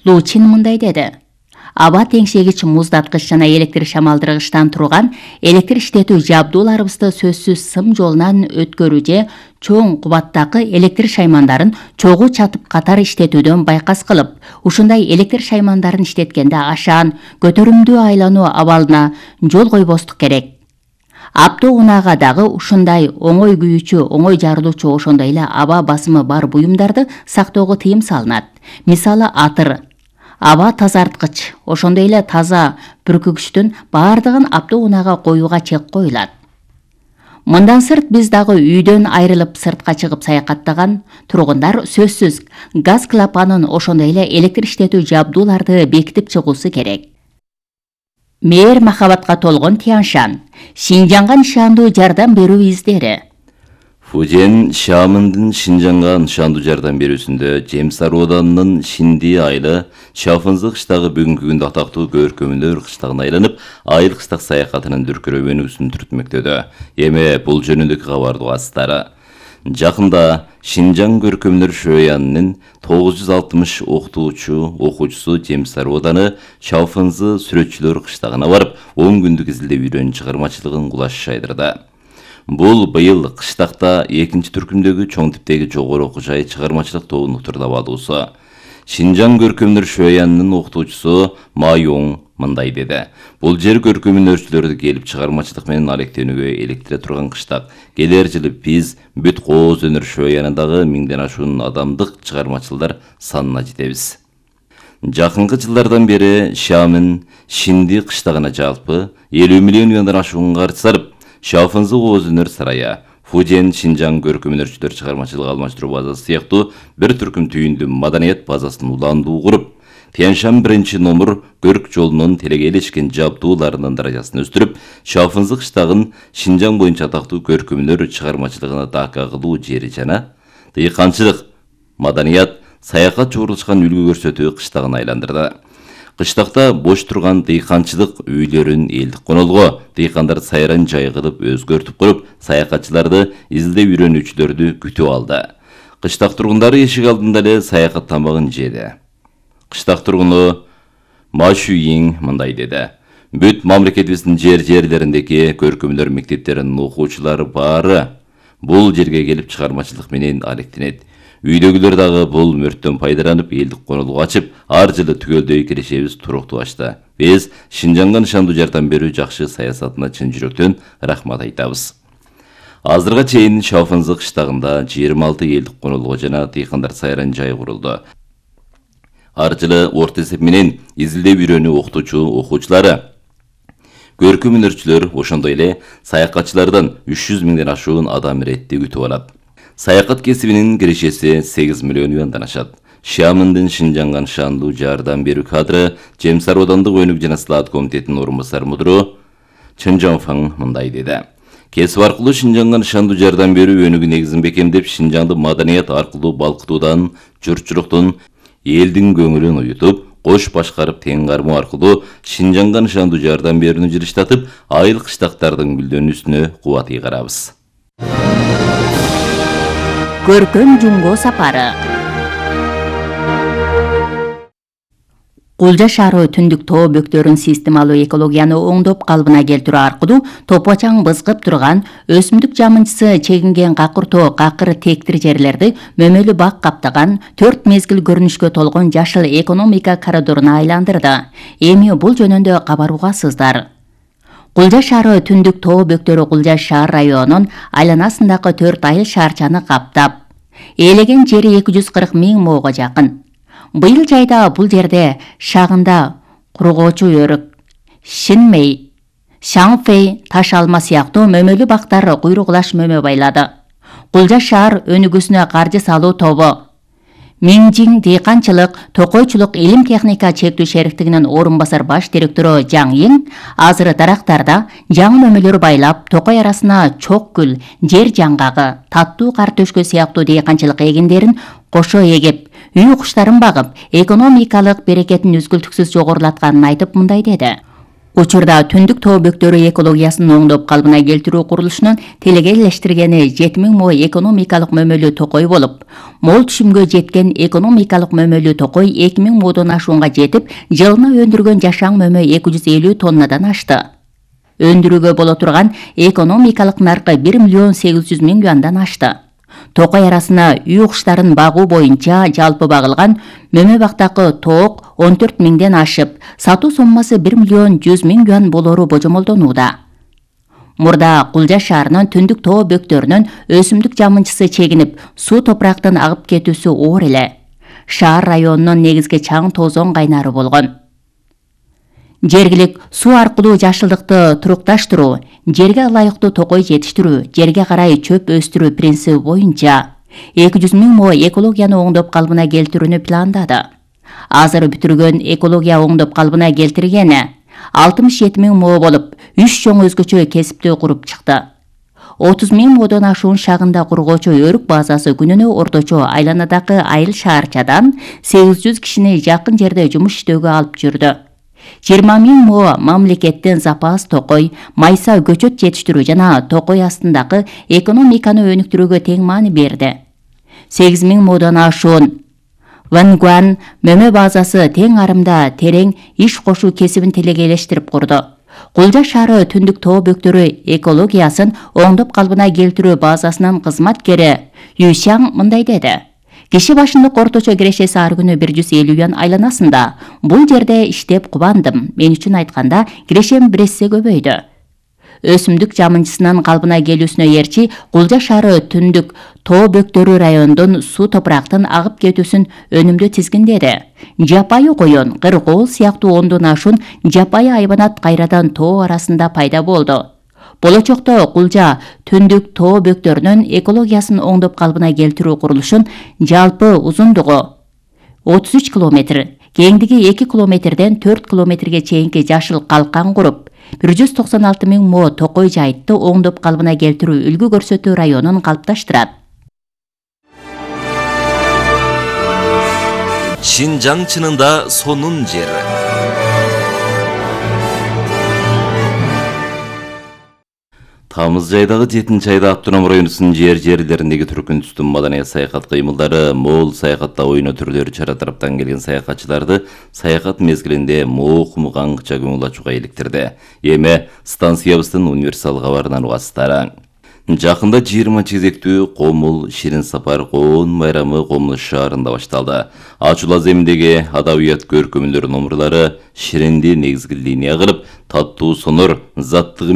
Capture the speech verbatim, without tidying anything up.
Лу Чин мындай деди. Аба теңшегич муздаткыч жана электр шамалдыргычтан турган электр иштетүү жабдууларыбызды сөзсүз сым жолунан өткөрүү же чоң кубаттагы электр шаймандарын чогуу чатып катар иштетүүдөн байкас кылып, ушундай электр шаймандарын иштеткенде ашаан, көтөрүмдүү айлануу абалына жол койбостук керек. Автоунаага дагы ушундай оңой күйүүчү, оңой жарылуучу, ошондой эле аба басымы бар буюмдарды сактоого тыйым салынат. Мисалы атыр, аба тазарткыч, ошондой эле таза бүркүгүчтүн баардыгын автоунаага коюуга чек коюлат. Мындан сырт биз дагы үйдөн айрылып сыртка чыгып саякаттаган тургундар сөзсүз газ клапанын, ошондой эле электр иштетүү жабдууларды бекитип чыгуусу керек. Мээр махабатка толгон Тяншан, Шинжаңга нышандуу жардам берүү издери. Фужен Шамындын Шинжаңга нышандуу жардам берүүсүндө Жемсар Оданынын Шинди айылы Шафынзы кыштагы бүгүнкү күндө атактуу көркөмүлөр кыштагына айланып, айыл кыштак саякатынын дүркүрөөнүүсүн түртмөктөдө. Эми бул жөнүндөгү кабардуу астары. Жакында Шинжаң көркөмүлөр шөянынын тогуз жүз алтымыш окутуучу окуучусу Жемсар Оданы Шафынзы сүрөтчүлөр кыштагына барып, он күндүк изилдөө үйрөнүү чыгармачылыгын кулаш жайдырды. Бул быйыл кыштакта экинчи түркүмдөгү чоң типтеги жогору окуу жай чыгармачылык тобунун турдабалуусу. Шинжаң көркөмүлөр шөянынын окутуучусу Майоң мындай деди. Бул жер көркөмүлөрчүлөрдү келип чыгармачылык менен алектенүүгө электире турган кыштак. Келер жылы биз бүт Кооз өнөр шөянындагы миңден ашуун адамдык чыгармачылдар санына жетебиз. Жакынкы жылдардан бери Шамын Шинди кыштагына жалпы элүү миллион юандан ашуун каржы сарып, Шафынзы Кооз өнөр сарайы, Фужен Шинжаң көркөмүлөрчүлөр чыгармачылык алмаштыруу базасы сыяктуу бир түркүм түйүндүү маданият базасын уландуу куруп, Тяншан биринчи номер көрк жолунун телегейлешкен жабдууларынын даражасын өстүрүп, Шафынзы кыштагын Шинжаң боюнча атактуу көркөмүлөр чыгармачылыгына дака кылуу жери жана дыйканчылык, маданият, саякат жуурулушкан үлгү көрсөтүү кыштагын айландырды. Кыштакта бош турган дыйканчылык үйлөрүн элдик конолго, дыйкандар сайран жай кылып өзгөртүп коюп, саякатчыларды, изилдөө үйрөнүүчүлөрдү күтүп алды. Кыштак тургундары эшик алдында эле саякат тамагын жеди. Кыштак тургуну Машуйин мындай деди. Бүт мамлекетибиздин жер-жерлериндеги көркөмүлөр мектептеринин окуучулары баары бул жерге келип чыгармачылык менен алектенет. Үйдөгүлөр дагы бул мөрттөн пайдаланып, элдик конолго ачып, ар жылы түгөлдөй кирешебиз турукташты. Биз Шинжаңга нышандуу жардам берүү жакшы саясатына чын жүрөктөн рахмат айтабыз. Азырга чейин Шафынзы кыштагында жыйырма алты элдик конолго жана дыйкандар сайран жай курулду. Ар жылы орто эсеп менен изилдөө үйрөнүү окутуучу окуучулары, көркөмүлөрчүлөр, ошондой эле саякатчылардан үч жүз миңден ашуун адам иретти күтүп алат. Саякат кесибинин кирешеси сегиз миллион юандан ашат. Шамындын Шинжаңга нышандуу жардам берүү кадры Жемсар Одандык өнүк жана сылаат комитетинин орун басары мудуру Чын Жонфаң мындай деди. Кесип аркылуу Шинжаңга нышандуу жардам берүү өнүгү негизин бекемдеп, Шинжаңды маданият аркылуу балкытуудан, журтчулуктун, элдин көңүлүн уютуп, кош башкарып тең кармоо аркылуу Шинжаңга нышандуу жардам берүүнү жылыштатып, айыл кыштактардын гүлдөнүүсүнө кубат ыйгарабыз. Көркөм жумго сапары. Кулжа шаары түндүк тоо бөктөрүн системалуу экологияны оңдоп калыбына келтирүү аркылуу топочаң бызгып турган өсүмдүк жамынчысы чегинген какыр-тоо, какыр тектир жерлерди мөмөлүү бак каптаган төрт мезгил көрүнүшкө толгон жашыл экономика коридоруна айландырды. Эми бул жөнүндө кабар угасыздар. Кулжа шаары түндүк тоо бөктөрү Кулжа шаар районунун айланасындагы төрт айыл шаарчаны каптап, ээлеген жери эки жүз кырк миң моого жакын. Быйыл жайда бул жерде шагында кургоочу өрүк, Шинмей, Шаңфей, таш алма сыяктуу мөмөлүү бактар куйругулаш мөмө байлады. Кулжа шаар өнүгүүсүнө каржы салуу тобу Миңжиң дыйканчылык, токойчулук илим техника чектүү шериктигинин орун басар баш директору Жаң Иң азыр дарактарда жаңы мөмөлөр байлап, токой арасына чок гүл, жер жаңгагы, таттуу кар төшкө сыяктуу дыйканчылык эгиндерин кошо эгип, үй куштарын багып, экономикалык берекетин үзгүлтүксүз жогорулатканын айтып мындай деди. Учурда түндүк тоо бөктөрү экологиясын оңдоп калыбына келтирүү курулушунун телегейлештиргени жети миң мо экономикалык мөмөлүү токой болуп, мол түшүмгө жеткен экономикалык мөмөлүү токой эки миң модон ашуунга жетип, жылына өндүргөн жашаң мөмө эки жүз элүү тоннадан ашты. Өндүрүүгө боло турган экономикалык наркы бир миллион сегиз жүз миң юандан ашты. Токой арасына үй куштарын багуу боюнча жалпы багылган мөмө бактакы тоок он төрт миңден ашып, сатуу соммасы бир миллион жүз миң юан болору божомолдонууда. Мурда Кулжа шаарынын түндүк тоо бөктөрүнөн өсүмдүк жамынчысы чегинип, суу топурактын агып кетүүсү оор эле. Шаар районунун негизги чаң тоозон кайнары болгон. Жергилик суу аркылуу жашылдыкты турукташтыруу, жерге ылайыктуу токой жетиштирүү, жерге карай чөп өстүрүү принциби боюнча эки жүз миң мо экологияны оңдоп калыбына келтирүүнү пландады. Азыр бүтүргөн экология оңдоп калыбына келтиргени алтымыш жети миң мо болуп, үч чоң өзгөчө кесипти куруп чыкты. отуз миң модон ашуун шагында кургоочу өрүк базасы күнүнө орточо айланадагы айыл шаарчадан сегиз жүз кишини жакын жерде жумуш иштөөгө алып жүрдү. жыйырма миң мо мамлекеттен запас токой, майса көчөт жетиштирүү жана токой астындагы экономиканы өнүктүрүүгө тең маани берди. сегиз миң модон ашуун Вангуан мөмө базасы тең арымда терең иш кошуу кесибин телегейлештирип курду. Кулжа шаары түндүк тоо бөктөрү экологиясын оңдоп калыбына келтирүү базасынын кызматкери Юсяң мындай деди. Киши башындык орточо кирешеси ар күнү бир жүз элүү юан айланасында. Бул жерде иштеп кубандым. Мен үчүн айтканда кирешем бир эсе көбөйдү. Өсүмдүк жамынчысынын калыбына келүүсүнө ээрчи Кулжа шаары түндүк тоо бөктөрү райондун суу топурактын агып кетүүсүн өнүмдүү тизгиндеди. Жапайы коён, кыргоол сыяктуу ондон ашуун жапайы айбанат кайрадан тоо арасында пайда болду. Болочокто Кулжа түндүк тоо бөктөрүнүн экологиясын оңдоп калыбына келтирүү курулушун жалпы узундугу отуз үч километр, кеңдиги эки километрден төрт километрге чейинки жашыл калкан куруп, бир жүз токсон алты миң мо токой жайытты оңдоп калыбына келтирүү үлгү көрсөтүү районун калыпташтырат. Шинжаң чынында сонун жер. Тамыз айдагы жетинчи айда Автоном районунун жер жерлериндеги түркүн түстүн маданий саякат кыймылдары, мол саякатта ойно түрлөрү чара тараптан келген саякатчыларды саякат мезгилинде мокум каңкыча көңүл ачууга иликтирди. Эми станциябыздын универсал кабарынан угасыздар. Жакында жыйырма чегектүү Комул Ширин сапар коон байрамы Комул шаарында башталды. Ачула земиндеги адабият көркөмүлөр номурлары Ширинди негизги линия кылып, таттуу сонор, заттыгы